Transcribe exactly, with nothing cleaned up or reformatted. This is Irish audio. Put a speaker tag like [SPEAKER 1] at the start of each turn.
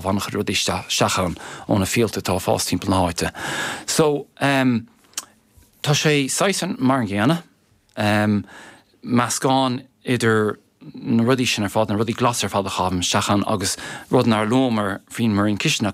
[SPEAKER 1] An-chuid rudaí isteach ann ó na fialta atá ag fás timpeall na háite. So um, tá sé saghas mar an gcéanna, um, meascán idir na rudaí sin ar fad na rudaí glas ar fad a chaithim isteach ann agus rud nár luamar faoin mbraon cistine